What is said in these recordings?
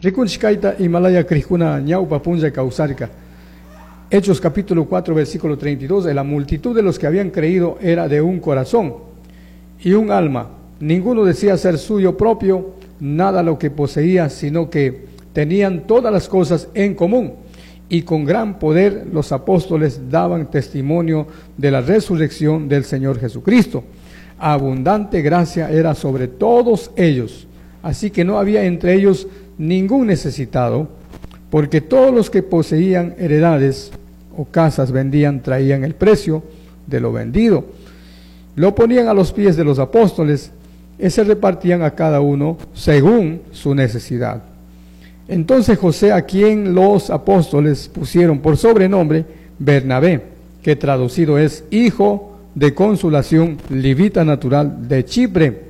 Rikunchik kayta imalaya crijkuna ñawpa punlla kawsarka. Hechos capítulo 4, versículo 32, la multitud de los que habían creído era de un corazón y un alma. Ninguno decía ser suyo propio nada lo que poseía, sino que tenían todas las cosas en común. Y con gran poder los apóstoles daban testimonio de la resurrección del Señor Jesucristo. Abundante gracia era sobre todos ellos. Así que no había entre ellos ningún necesitado, porque todos los que poseían heredades o casas vendían, traían el precio de lo vendido. Lo ponían a los pies de los apóstoles y se repartían a cada uno según su necesidad. Entonces José, a quien los apóstoles pusieron por sobrenombre Bernabé, que traducido es hijo de consolación, levita natural de Chipre,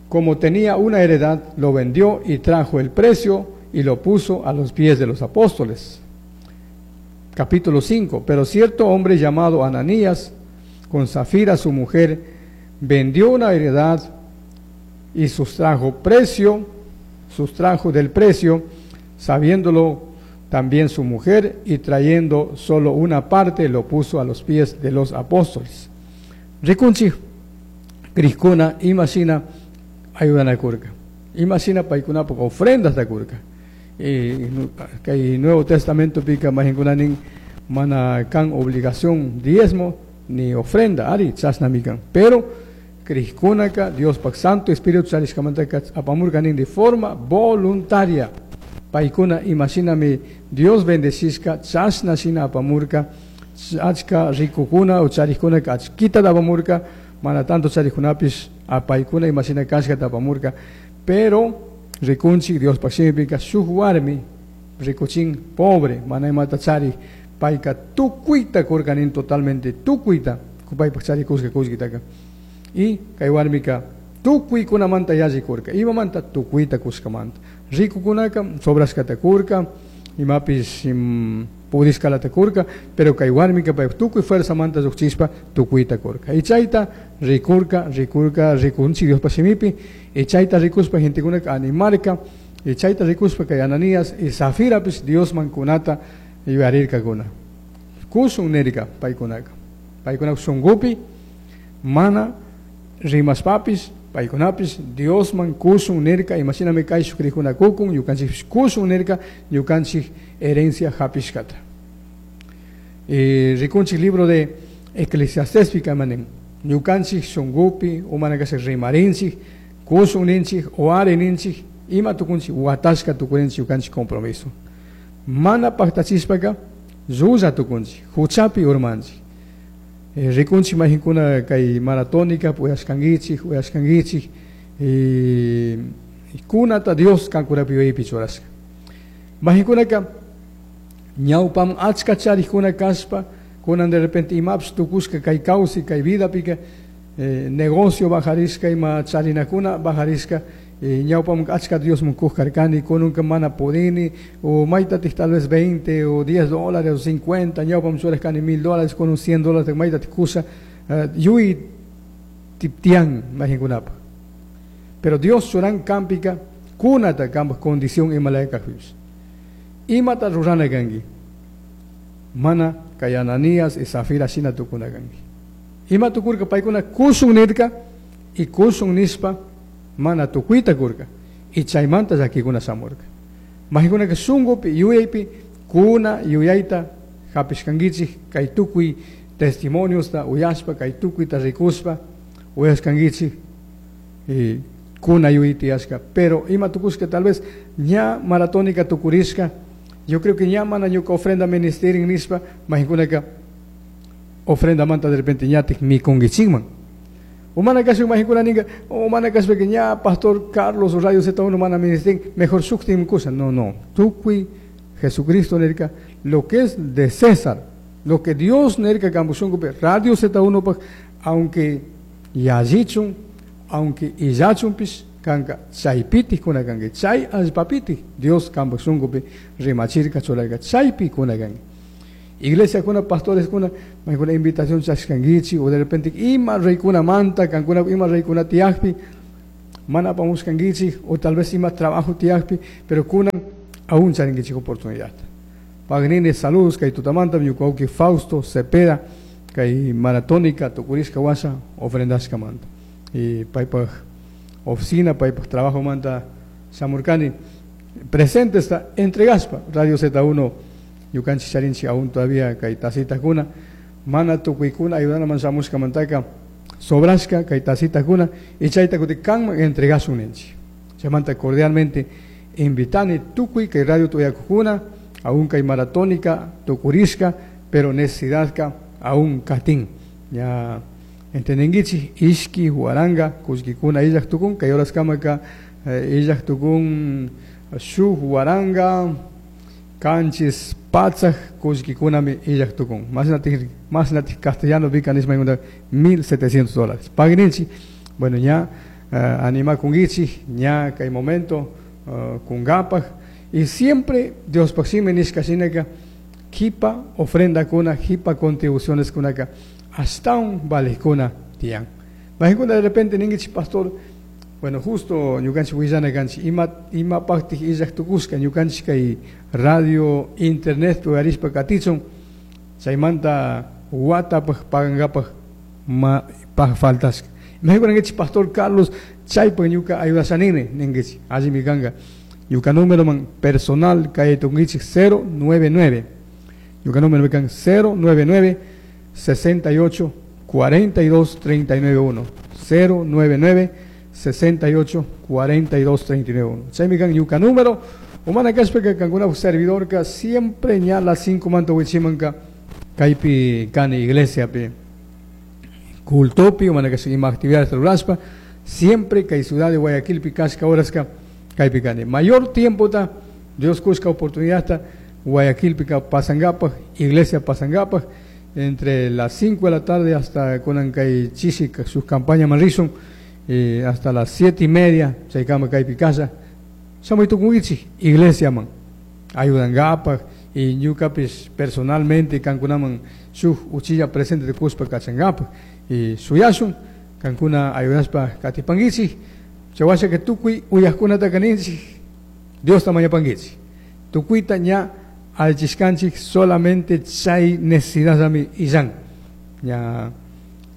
como tenía una heredad, lo vendió y trajo el precio y lo puso a los pies de los apóstoles. Capítulo 5. Pero cierto hombre llamado Ananías, con Safira su mujer, vendió una heredad y sustrajo del precio, sabiéndolo también su mujer, y trayendo solo una parte, lo puso a los pies de los apóstoles. Rikunchik, crijkuna, imashina ayudanacurca. Imashina paikunapaj ofrendas curca. Kay Nuevo Testamento pika maijinkunanin mana kan obligación diezmo ni ofrenda, ari chashnami kan. Pero crijkunaka Diospaj Santo Espíritu charishkamantaka apamurka nin de forma voluntaria. Paikuna imashinami Dios bendecishka chashna shina apamurka, achka ricukuna o charijkunaka achkita apamurka, mana tanto charijkunapish apaykuna imashina kashkata apamurka, pero rikunchik Diospaj shimipika shuk warmi rikuchin pobre, mana imata charij, payka tukuyta kurka nin totalmente tukuyta, paypaj charikushka kullkitaka. Y kay warmika tukuykunamanta yalli kurka, imamanta tukuyta kushkamanta. Rikukunaka sobrashkata kurka, imapish pudishkalata kurka, pero kay warmika pay tukuy fuerzamanta llukchishpa tukuyta kurka. Y chayta rikurka, rikurka, rikunchik Diospaj shimipi, y chayta rikushpa gentekunaka animarka, y chayta rikushpa kay Ananías y Safirapish Diosman kunata yuyarirkakuna. Kushun nirka paykunaka. Paykunaka shunkupi mana rimashpapish paykunapish Diosman kushun nirka, imashinami kayshuk crijkuna kukun, ñukanchikpish kushun nirka, ñukanchik herencia hapishkata. Y rikunchik libro de Eclesiastés manin, ñukanchik shunkupi, umana kasha rimarinchik, kushun ninchik, o ari ninchik, ima tukunchik, watashka tukurinchik ñukanchik compromiso. Mana paktachishpaka, llulla tukunchik, huchapi urmanchik. Rikunchik majinkuna kay maratónica, uyashkankichik, uyashkankichik, y kunata Dios kankunapi yuyaypi churashka. Majinkunaka, ñawpam achka charikuna kashpa, kunan de repente imapish tukushka kay kawsay, kay vidapika, negocio bajarishka, ima charinakuna bajarishka, ñawpam achka Diosman kuj karkani, kunanka mana pudini, o maytatik tal vez 20 o 10 dólares o 50, ñawpam churashkani 1000 dólares, con un 100 dólares, maytatik kusha, yuy tiptian majinkunapaj. Pero Dios churan kampika, kunata kampak condición imalaya kajpipish. Imata rurana kanki, mana kay Ananías y Safira shina tukuna kanki. Ima tukurka paykuna kushun nirka, y kushun nishpa mana tukuyta kurka, y chaymanta llakikuna shamurka. Majikunaka shunkupi yuyaypi kuna yuyayta hapishkankichik kay tukuy testimoniosta uyashpa, kay tukuyta rikushpa uyashkankichik, y kuna yuyay tiyashka. Pero ima tukushka tal vez ña maratónica tukurishka, yo creo que ña mana ñuka ofrenda ministerin nishpa, majikunaka ofrenda manta de repente ñatik mikunkichikman. Umana kasha majinkuna ninga, umana kasha que ña pastor Carlos o Radio Z1 mana ministerin, mejor shuktin kusa. No, no. Tukuy Jesucristo nirka, lo que es de César, lo que Dios nirka kambushunkupi, Radio Z1 pa, aunque yallichun, aunque illachunpish, kanka chaypitik kuna kanki, chay allpapitik Dios kambushunkupi rimachirka churarka, chaypi kuna kanki. Iglesia kuna pastores kuna, maykuna invitación chashkankichik, o de repente ima reykuna manta, kankuna ima reykuna tiyakpi, Mana apamushkankichik o tal vez ima trabajo tiyakpi, pero kunan aún charinkichik oportunidad. Pagnini saludos kay tutamanta ñuka wawki Fausto Cepeda kay maratónica tukurishka washa ofrendashkamanta. Y paypaj oficina, paypaj trabajomanta shamurkani presente está entregaspa Radio Z1 ñukanchik charinchik aún todavía kay tacitakuna mana tukuykuna ayudanaman shamushkamantaka sobrashka kay tacitakuna y chayta kutin kanman entregasun ninchik. Chaymanta cordialmente invitani tukuy kay radio tuyakukuna aún kay maratónica tukurishka, pero necesidadka aún katin. Ya entendinkichik ishki waranga kullkikuna illaj tukun kay horaskamaka illaj tukun shuk waranga kanchis patsaj kullkikunami illaj tukun. Más castellano pika nishpa $1,700. Pagninchik, bueno, ña animakunkichik, ña kay momento kunkapaj. Y siempre Diospaj shimi nishka shinaka kipa ofrenda kuna, kipa contribuciones kunaka ashtawan valijkuna tiyan. Majikuna de repente ninkichik pastor, bueno, justo ñukanchik willana kanchik, imapaktik illaj tukushka ñukanchik kay radio, internet uyarishpa katichun, chaymanta watapaj pagankapaj ma paj faltashka. Majikuna ninkichik pastor Carlos, chaypaj ñuka ayudashanini ninkichik, allimi kanka. Ñuka número man personal kay tunkichik 099. Ñuka número kan 099 68 42 39 1. 099 68 42 39 1. Chaymi kan ñuka número. Umana kashpaka kankuna servidor ka siempre ña las 5 manto wichimanka kaypi kani iglesia pi cultopi umana kashpa ima actividades rurashpa siempre kay ciudad de Guayaquil pi kashka horaska kaypi kani. Mayor tiempo ta Dios kushka oportunidad ta Guayaquil pika pasangapaj, iglesia pasangapaj, entre las 5 de la tarde hasta kunan kay chishi sus campañas manrishun, hasta las siete y media, chaykama kaypi kasha. Shamuy tukunkichik iglesia man, ayudankapaj, y ñukapis personalmente kankunaman shuk uchilla presente de kushpa kachankapaj, y suyashun, kankuna ayudashpa katipankichik, chawasha que tukuy uyajkunata kaninchik, Dios ta mañapankichik. Tukuyta ña alchishkanchik solamente chay necesidad ami illan. Ña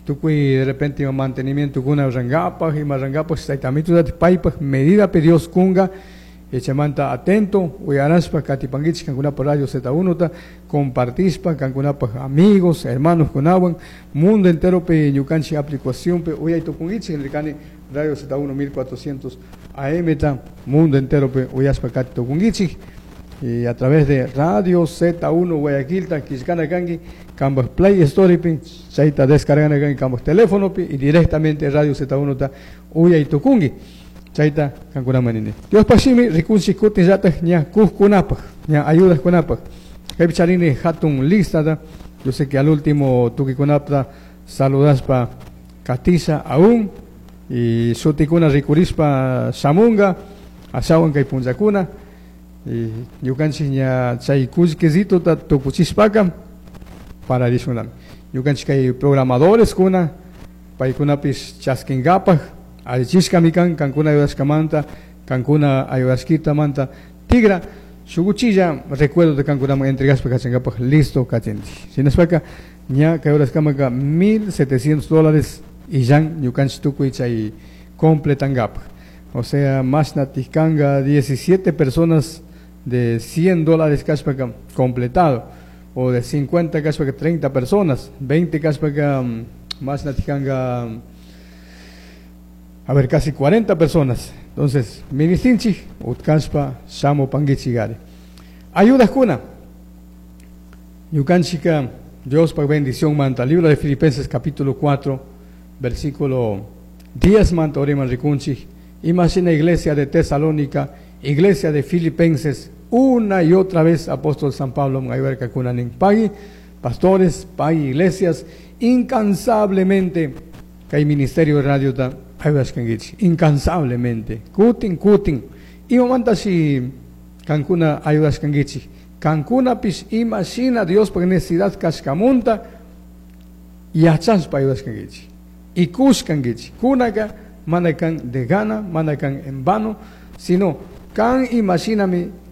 tukuy de repente ima mantenimiento kuna rangapaj, ima rangapaj, chaytamitu dati paypaj medida pe Dios kunga, echamanta atento, uyarashpa katipankichik kankunapaj Radio Z1 ta, compartishpa kankunapaj amigos, hermanos kunawan, mundo entero pe ñukanchik aplicación pe uyay tukunkichik, nirkani Radio Z1 1400 AM ta, mundo entero pe uyashpa kati tukunkichik. Y a través de Radio Z1 Guayaquil, ta kishkana kanki, kambaj Play Store pi, chayta descargana kanki kambaj teléfono pi, y directamente Radio Z1 ta uyay tukunki. Chayta kankunaman nini. Dios pashimi rikunchik kutin llataj ña kujkunapaj, ña ayudas kunapaj. Kaypi charini hatun lista ta, yo sé que al último tukikunapta saludaspa katisha aún, y shutikuna rikurispa shamunga, ashawan kay punllakuna, y ñukanchik ña chay kullkisito ta tukuchishpaka para rishunami. Ñukanchik kay programadores kuna, paykunapis chaskinkapaj, allichishkami kan, kankuna ayudashkamanta, kankuna ayudashkitamanta, tigra, shukuchilla recuerdo de kankunaman entregashpa kachankapaj listo kachinchik. Shinashpaka ña kay horaskamaka $1,700 illan ñukanchik tukuy chay completankapaj. O sea, más natikanga 17 personas de $100 kashpaka completado, o de 50 kashpaka 30 personas, 20 kashpaka, más natikanga, a ver, casi 40 personas. Entonces, ministinchik, utkashpa, shamo pangichigari. Ayudas kuna. Ñukanchika, Dios pa bendición manta. Libro de Filipenses capítulo 4, versículo 10 manta oriman rikunchik. Imagina iglesia de Tesalónica, iglesia de Filipenses, una y otra vez apóstol San Pablo ayudarka kunanin pagui, pastores, pagui iglesias, incansablemente, que hay ministerio de radio ta ayudashkankichik, incansablemente, kutin, kutin, imamanta si kankuna ayudashkankichik, kankuna pis imashina Dios pa necesidad kashkamunta, yachashpa ayudashkankichik, y kushkankichik, kunaka Mana can de gana, mana can en vano, sino can imashinami.